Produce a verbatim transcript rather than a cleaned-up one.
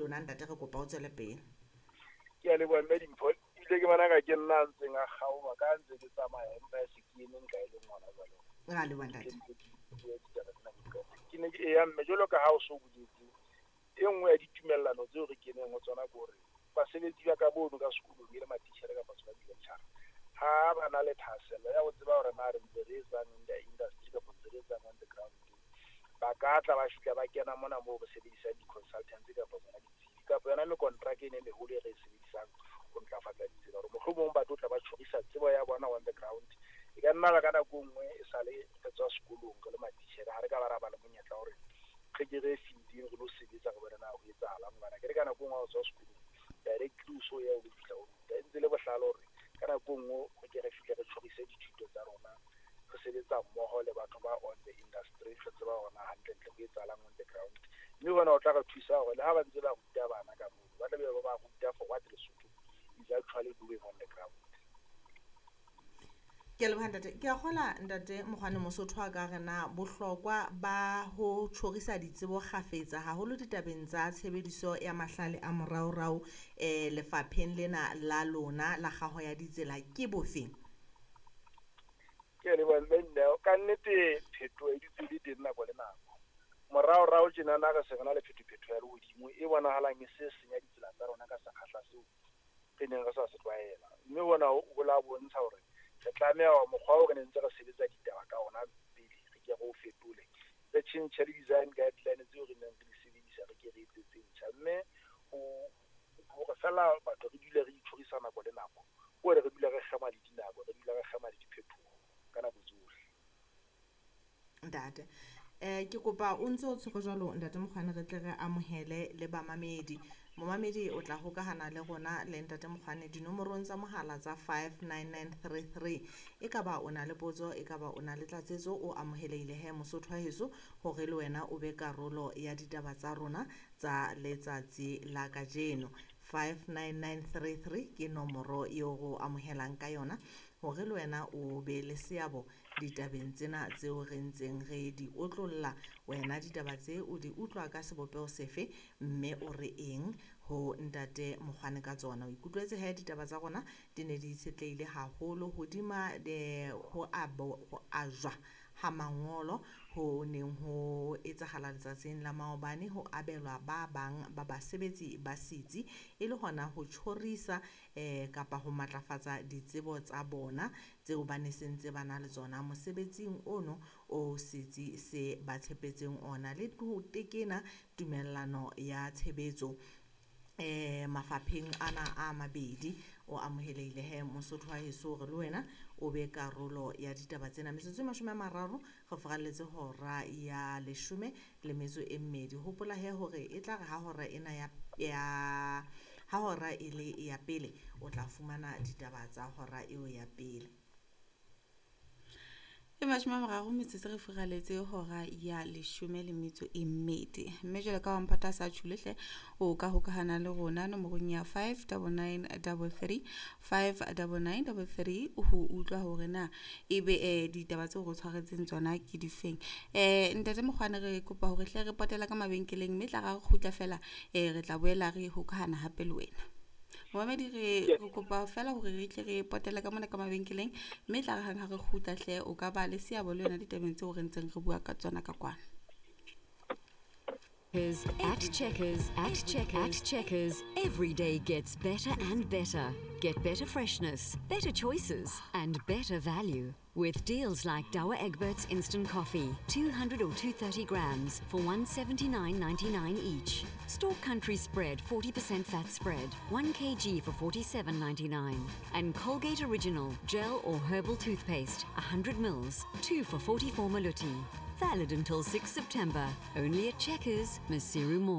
lona ntate, re kopa o tswele pele. Ke a leboha mme Dimpho, ebile ke bona ka ke nna a ntseng a kgaoha ka ntse ke tsamaya empa e se ke eme nka e leng ngwana jwale. Re a leboha ntate. Ke ne ke eya mme jwalo ka ha o so boletse, e nngwe ya ditumellano tseo re keneng ho tsona ke hore basebetsi ba ka bono ka sekolong e le matitjhere kapa tsona di-lecturer, ha ba na le thahasello ya ho tseba hore na re ntse re etsang in the industry kapa ntse re etsang on the ground, ba ka tla ba fihla ba kena mona moo re sebedisang di-consultants kapa tsona ditsebi kapa yona mekontraka ena e meholo e re e sebedisang ho ntlafatsa ditsela, hore mohlomong ba tlo tla ba tjhorisa tsebo ya bona on the ground. E ka nna ba ka nako e nngwe e sale re tswa sekolong re le matitjhere, ha re ka ba ra ba le monyetla hore re ke re fielding re lo sebetsa re bone na ho etsahalang, hobane akere ka nako e nngwe ha o tswa sekolong directly o so ya o lo fihla o ruta. E ntse le bohlale hore ka nako e nngwe re ke re fihle re tjhorise dithuto tsa rona, re sebetsa mmoho le batho ba on the industry, re tseba hore na hantlentle ho etsahalang on the ground. Mme hona ho tla re thusa hore le ha ba ntse ba ruta bana ka moo, ba tla be ba ba ruta for what Lesotho is actually doing on the ground. Ke a leboha ntate. Ke a kgola ntate Mokgwane Mosotho a ka re na bohlokwa ba ho tjhorisa ditsebo kgafetsa haholo ditabeng tsa tshebediso ya mahlale a moraorao eh lefapheng lena la lona la kgaho ya ditsela ke bofeng? Ke a leboha mme Neo. Ka nnete phetoho e dutse e le teng nako le nako. Moraorao tjenana re se re na le phetophetho ya lehodimo e bonahalang e se senya ditsela tsa rona ka sekgahla seo re neng re sa se tlwaela. Mme hona ho la bontsha hore re tlameha hore mokgwa oo re ne ntse re sebetsa ditaba ka ona pele re ke re o fetole, re tjhentjhe le design guideline tseo re neng re di sebedisa, re ke re etse tse ntjha. Mme hore fela batho re dule re itjhorisa nako le nako, ke hore re dule re kgema le dinako, re dule re kgema le diphetoho ka nako tsohle. Ntate, eh ke kopa o ntse o tshwere jwalo ntate Mokgwane, re tle re amohele le bamamedi. Momamedi o tla hokahana le rona le ntate Mokgwane dinomorong tsa mohala tsa five nine nine three three. E ka ba o na le potso, e ka ba o na le tlatsetso, o amohelehile he Mosotho wa heso hore le wena o be karolo ya ditaba tsa rona tsa letsatsi la kajeno. five nine nine three three ke nomoro eo re o amohelang ka yona hore le wena o be le seabo ditabeng tsena tseo re ntseng re di otlolla. Wena ditaba tse o di utlwa ka sebopeho sefe, mme o re eng ho ntate Mokgwane ka tsona? O ikutlwetse he ditaba tsa rona di ne di itshetlehile haholo hodima de ho abo ho ajwa ha mangolo ho neng ho etsahala letsatsing la maobane, ho abelwa ba bang ba basebetsi ba setsi e le hona ho tjhorisa eh kapa ho matlafatsa ditsebo tsa bona tseo ba ne sentse ba na le tsona mosebetsing ono o setsi se ba tshepetseng ona, le ho tekena tumellano ya tshebetso eh mafapheng ana a mabedi. O amohelehile he Mosotho wa heso hore le wena o be karolo ya ditaba tsena. Metsotso e mashome a mararo re furalletse hora ya leshome le metso e mmedi. Hopola he hore e tla re ha hora ena ya, ya ha hora e le ya pele o tla fumana ditaba tsa hora eo ya pele. E mashome a mararo metsotso re furaletse hora ya leshome le metso e mmedi. Mme jwalo ka ha Mphato a sa tjhole hle, o ka hokahana le rona nomorong ya five double nine double three, five double nine double three ho utlwa hore na ebe eh ditaba tseo re tshwaretseng tsona ke difeng. Eh ntate Mokgwane, re kopa hore hle re potela ka mabenkeleng, mme tla ra re kgutla fela eh re tla boela re hokahana hape le wena. Momamedi, re re kopa fela hore re tle re potele ka mona ka mabenkeleng, mme tla re hang ha re kgutla hle o ka ba le seabo le yona ditabeng tseo re ntseng re bua ka tsona ka kwana. At Checkers, at Checkers, at Checkers, every day gets better and better. Get better freshness, better choices, and better value. With deals like Douwe Egberts Instant Coffee, two hundred or two thirty grams for one seventy-nine ninety-nine each. Stork Country Spread forty percent fat spread, one kilogram for forty-seven ninety-nine. And Colgate Original Gel or Herbal Toothpaste, a hundred mils, two for forty-four maluti. Valid until sixth September. Only at Checkers, Maseru Mall.